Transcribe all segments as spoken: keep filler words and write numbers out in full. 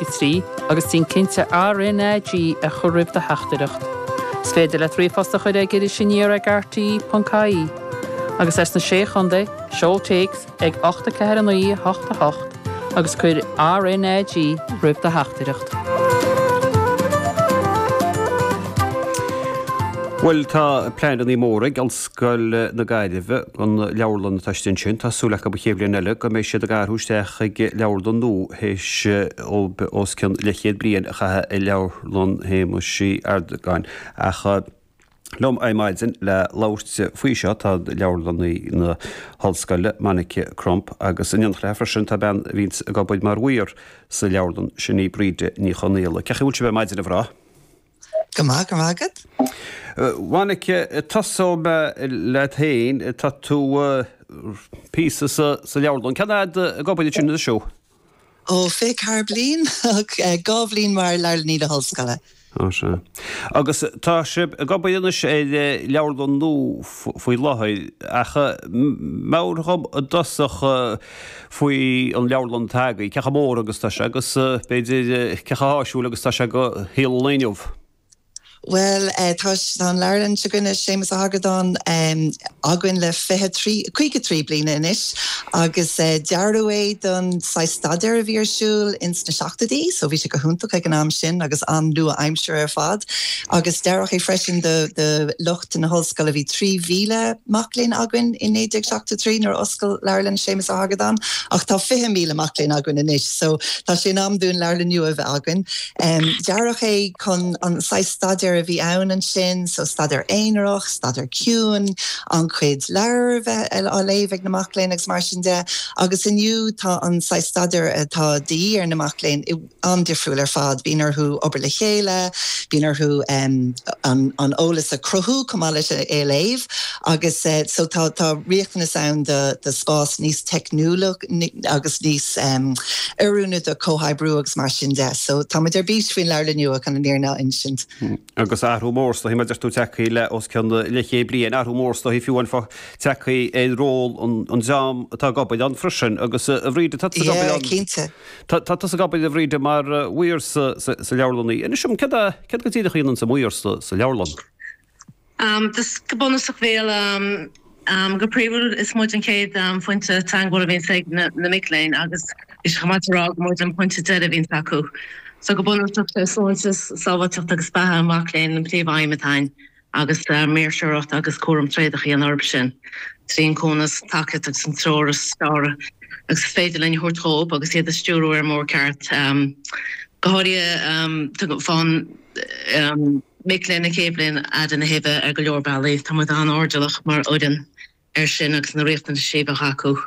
trí agus déan cinnte RNAG a chur roimh do theachtaireacht. Is féidir leat ríomhphost a chur ag Iris Aniar ag RTÉ ponc ie. Agus as na sé chontae, seol téacs ag ocht a ceathair a naoi a hocht a hocht agus cuir RNAG roimh do theachtaireacht. Bhuel, tá pleananna móra ag Ollscoil na Gaillimhe don leabharlann atá istigh ansin. Tá súil acu an chéad bhliain eile go mbeidh siad ag athrú isteach chuig leabharlann nua théis os cionn leathchéad bliain a chaitheamh i leabharlann Shéamuis Uí Ardagáin. Ach liom ar maidin le labhairt faoi seo tá leabharlannaí na hOllscoile, Monica Crump, agus in éineacht léi freisin tá bean a bhíonns ag obair mar mhaor sa leabharlann, sin í Bríde Ní Chonaola. Cén chaoi a bhfuil sibh ar maidin, a mhná? Go maith, go raibh maith agat. Monica, tosóidh mé leat féin. Tá tú píosa sa leabharlann. Cén fhad ag obair ansin anois thú? Ó, fiche ceathair bliain, dhá bhliain mar leabharlannaí na hollscoile. Á sea. Agus tá sibh ag obair anois ar leabharlann nua faoi láthair, ach meabhraigh dhom i dtosach faoi an leabharlann atá agaibh, cé chomh mór agus atá sé agus b'fhéidir cé chomh háisiúil agus atá sé do shaol an lae inniu. Bhuel, tá tá an leabharlann seo againne, Séamus Ó hArgadáin, againn le fiche trí, caoga trí bliana anois agus dearadh é don saghas staidéar a bhí ar siúl ins na seachtóidí, so bhí sé go hiontach ag an am sin agus an-nua-aimseartha ar fad. Agus dearadh é freisin do do lucht na hollscoile, bhí trí mhíle mac léinn againn i naoi déag seachtó trí nuair a oscail Leabharlann Séamus Ó hArgadáin ach tá fiche míle mac léinn againn anois, so tá sé in am dúinn leabharlann nua a bheith againn. Dearadh é chun an saghas staidéar a bhí ann ansin, so staidéar aonarach, staidéar ciúin, an-chuid leabhar a bheith á léamh ag na mac léinn agus mar sin de. Agus inniu tá an saghas staidéar atá de dhíth ar na mac léinn an-difriúil ar fad. Bíonn orthu obair le chéile, bíonn orthu an an eolas a chruthú chomh maith leis é a léamh agus so tá tá riachtanas ann do do spás níos teicniúla agus níos oiriúnaí do chomhoibriú agus mar sin de. So táimid ar bís faoin leabharlann nua chun an fhírinne a insint. Agus athrú mór is dóichí, mar a deir tú, tagtha le os cionn leathchéad bliain, athrú mór is dóichí fiú amháin fá tagtha ar ról an dream atá ag obair ann freisin. Agus a Bhríde, tá tusa ag obair Yeah, ann, cinnte. tá tusa ag obair a Bhríde mar mhaor sa sa leabharlann. Inis dom, céard a, céard go díreach a dhéanann an maor sa sa leabharlann? Um, go bunúsach bhuel um, um, go príomhúil is muid an chéad um, phointe teagmhála a bhíonns ag na, na mic léinn agus is chomh maith a rá go muid an pointe deiridh a bhíonns acu. So go bunúsach sé sláinte, sábháilteacht agus beatha an mhac léinn an príomhaidhm atá againn agus uh, maoirseoireacht agus cúram tréadach a dhéanamh orthu sin. Trí an cúnamh, tacaíocht agus an treoir is fearr agus is féidir linn a thabhairt dóibh agus iad a stiúradh ar an mbóthar ceart. Um, go háirithe um, fán um, mic léinn na chéad bhliain fhad ina thaobh ar go leor bealaí, tá muid an-airdeallach mar fhoireann air sin agus na riachtanais a bheadh acu.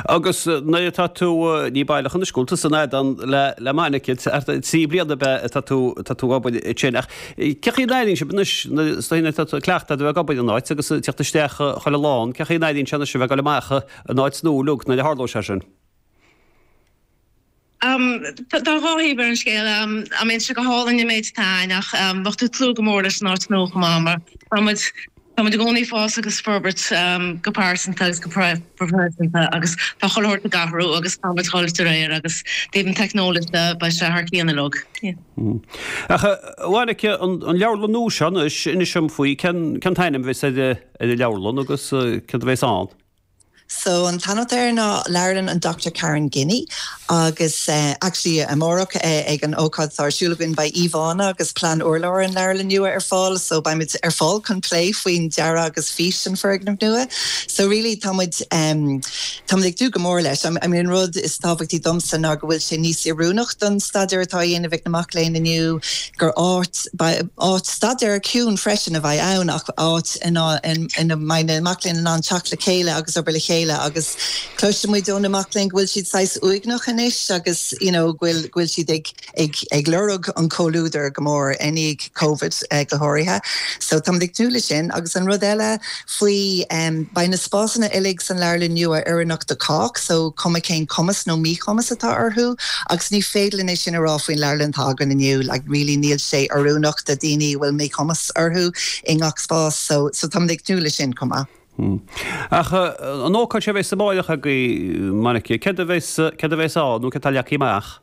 Agus nuair atá tú ní baileach anois go bhfuil tú san fheadán le le Monica trí bliana ab ea atá tú atá tú ag obair ansin ach cén chaoi a n-airíonn sibh anois is dóigh nuair atá tú cleachtaithe a bheith ag obair in áit agus ag teacht isteach chuile lá ann cén chaoi a n-airíonn sé anois a bheith ag dul amach in áit nua uilig nuair a tharlóidh sé sin? Tá dhá thaobh ar an scéal. I mean, sé go hálainn an méid atá ann ach bheadh tú ag tnúth go mór leis an áit nua chomh maith mar tá muid tá muid i gcónaí ag fás agus forbairt go pearsanta agus go proifisiúnta agus tá chuile shórt ag athrú agus tá muid ag dul de réir agus taobh an teicneolaíocht de beidh sé thar cionn uilig. Ach a Mhonica, an leabharlann nua seo anois, inis dom faoi, cén cén t-ainm a bheas ar an leabharlann agus céard a bheas ann? So an t-ainm atá air ná Leabharlann an Dochtúir Karen Guinee agus actually amárach ag an ócáid atá ar siúl againn beidh íomhánna agus plean urláir an leabharlann nua ar fáil so beimid ar fáil chun plé faoin dearadh agus fís an foirgnimh nua. So really tá muid tá muid ag tnúth go mór leis. I mean an rud is tábhachtaí domsa ná go bhfuil sé níos oiriúnach don staidéar atá á dhéanamh ag na mac léinn inniu, gur áit áit staidéir ciúin freisin a bheidh ann ach áit ina ina mbeidh na mac léinn in ann teacht le chéile agus obair le chéile. agus cloiseann muid ó na mac léinn go bhfuil siad saghas uaigneach anois agus you know go bhfuil go bhfuil siad ag ag ag lorg an comhluadar go mór i ndiaidh Covid go háirithe. So táimid ag tnúth leis sin agus an rud eile faoi um beidh na spásanna uilig san leabharlann nua oiriúnach do chách so cuma cén cumas nó míchumas atá orthu agus ní féidir linn é sin a rá faoin leabharlann atá againn inniu like really níl sé oiriúnach do daoine a bhfuil míchumas orthu i ngach spás so so táimid ag tnúth leis sin chomh maith. Ach an ócáid seo a bheas amárach agaibh, Monica, céard a bheas, céard a bheas ann nó céard atá leagtha amach?